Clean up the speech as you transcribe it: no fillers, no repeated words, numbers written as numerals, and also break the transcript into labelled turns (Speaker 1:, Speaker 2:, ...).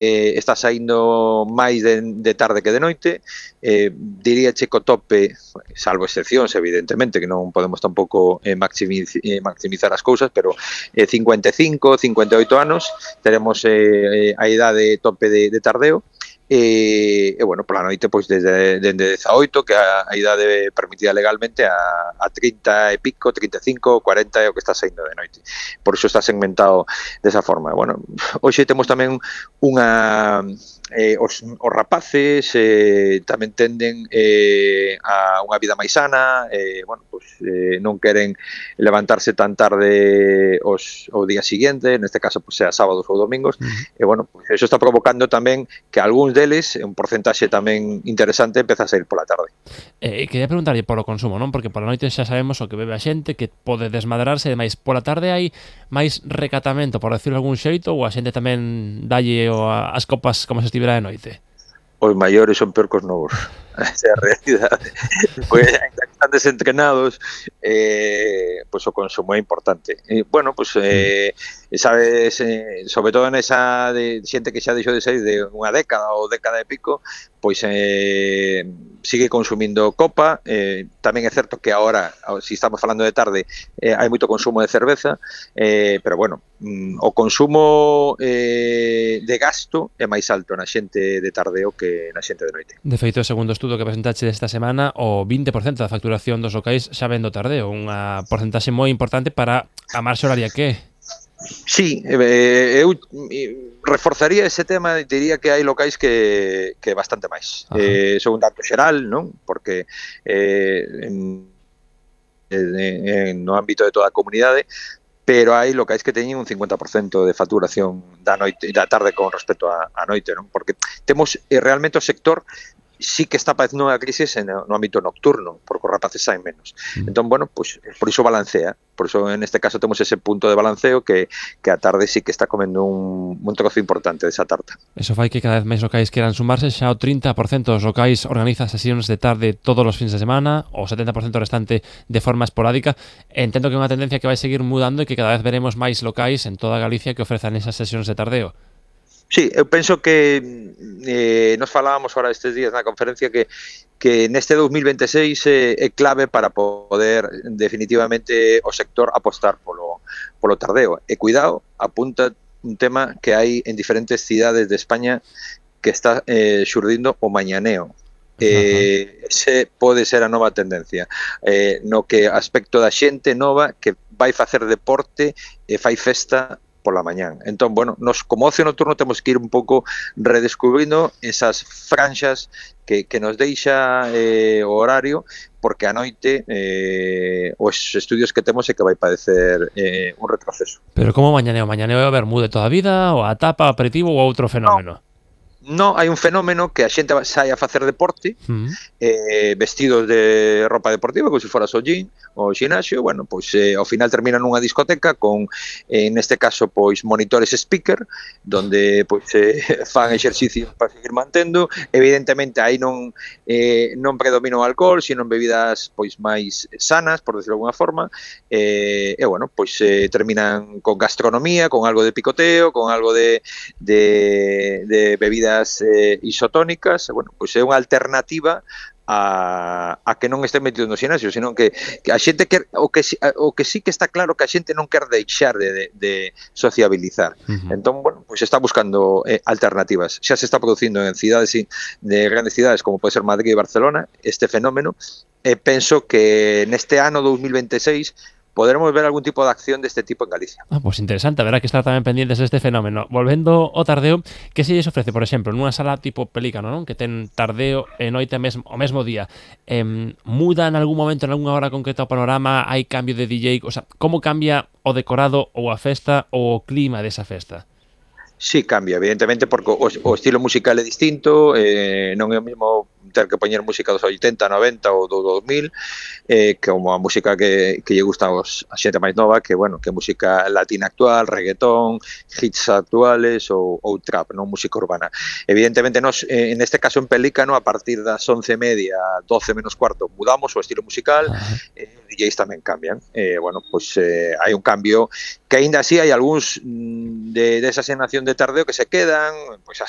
Speaker 1: está saindo máis de tarde que de noite. Diría che co tope, salvo excepcións, evidentemente, que non podemos tampouco maximizar as cousas, pero 55, 58 anos, teremos a idade tope de tardeo. E bueno, pola noite, pois dende 18, que a idade permitida legalmente, a 30 e pico, 35, 40 é o que está saindo de noite. Por iso está segmentado desa forma. Bueno, hoxe temos tamén os rapaces tamén tenden a unha vida máis sana, bueno, pues, non queren levantarse tan tarde o día siguiente, neste caso pues, sea sábados ou domingos, e bueno, pues, eso está provocando tamén que algúns deles, un porcentaxe tamén interesante, empeza a sair pola tarde.
Speaker 2: Quería preguntarlle polo consumo, non? Porque pola noite xa sabemos o que bebe a xente, que pode desmadrarse, e demais. Pola tarde hai máis recatamento, por decirlo de algún xeito, ou a xente tamén dalle as copas como se estivera de noite?
Speaker 1: Os maiores son peor que os novos. Esa é a realidade. Pois, ainda que están desentrenados, pois o consumo é importante. Bueno, pois, sabes, sobre todo nesa de xente que xa deixou de sair de unha década ou década e pico, pois sigue consumindo copa. Tamén é certo que agora, se estamos falando de tarde, hai moito consumo de cerveza, pero bueno, o consumo de gasto é máis alto na xente de tardeo que na xente de noite.
Speaker 2: De feito, segundo o estudo que presentaxe desta semana, o 20% da facturación dos locais xa ven do tardeo, unha porcentaxe moi importante para a marxa horaria que é.
Speaker 1: Sí, eu reforzaría ese tema, diría que hai locais que bastante máis. Son un dato xeral, non? Porque no ámbito de toda a comunidade, pero hai locais que teñen un 50% de facturación da noite da tarde con respecto a noite, non? Porque temos realmente o sector sí que está padecendo unha crisis no ámbito nocturno, porque os rapaces saen menos. Entón, bueno, pues, por iso balancea. Por iso, neste caso, temos ese punto de balanceo que a tarde sí que está comendo un trozo importante desa tarta.
Speaker 2: Eso fai que cada vez máis locais queran sumarse. Xa o 30% dos locais organiza sesións de tarde todos os fins de semana, o 70% restante de forma esporádica. Entendo que é unha tendencia que vai seguir mudando e que cada vez veremos máis locais en toda Galicia que ofrezan esas sesións de tardeo.
Speaker 1: Sí, eu penso que nos falábamos ahora estes días na conferencia que neste 2026 é clave para poder definitivamente o sector apostar polo tardeo. E cuidado, apunta un tema que hai en diferentes cidades de España que está xurdindo o mañaneo. Ese pode ser a nova tendencia, no que aspecto da xente nova que vai facer deporte e fai festa pola mañán. Entón, bueno, nos como ocio nocturno temos que ir un pouco redescubrindo esas franxas que nos deixa o horario, porque a noite os estudios que temos é que vai padecer un retroceso.
Speaker 2: Pero como mañaneo? Mañaneo é o vermú de toda a vida, ou a tapa, aperitivo ou outro fenómeno?
Speaker 1: No, hai un fenómeno que a xente sai a facer deporte vestidos de ropa deportiva, como se fora o gym ou o xinaxio, bueno, pois ao final termina nunha discoteca con, neste caso, pois monitores speaker, donde pois fan exercicios para seguir mantendo. Evidentemente aí non predomina o alcohol, sino bebidas pois máis sanas, por decirlo de alguna forma, e bueno, pois terminan con gastronomía, con algo de picoteo, con algo de bebidas isotónicas. Bueno, pois é unha alternativa a que non este metido no xinasio, sino que a xente o que sí que está claro que a xente non quer deixar de sociabilizar. Entón, bueno, pois está buscando alternativas. Xa se está producindo en cidades de grandes cidades como pode ser Madrid e Barcelona este fenómeno, e penso que neste ano 2026 poderemos ver algún tipo de acción deste tipo en Galicia.
Speaker 2: Pois interesante, haberá que estar tamén pendientes deste fenómeno. Volvendo ao tardeo, que se lles ofrece, por exemplo, nunha sala tipo Pelícano, non? Que ten tardeo e noite o mesmo día. Muda en algún momento, en algunha hora concreta o panorama? Hai cambio de DJ? O sea, como cambia o decorado ou a festa ou o clima desa festa?
Speaker 1: Sí, cambia, evidentemente, porque o estilo musical é distinto, non é o mesmo ter que poñer música dos 80, 90 ou do 2000, como a música que lle gusta a xente máis nova, que, bueno, que música latina actual, reggaetón, hits actuales ou trap, non música urbana. Evidentemente, nos, neste caso en Pelícano, a partir das 11:30, 12 menos cuarto, mudamos o estilo musical, DJs tamén cambian. Bueno, pois hai un cambio que aínda así hai algúns de esa xeración de tardeo que se quedan, pois hasta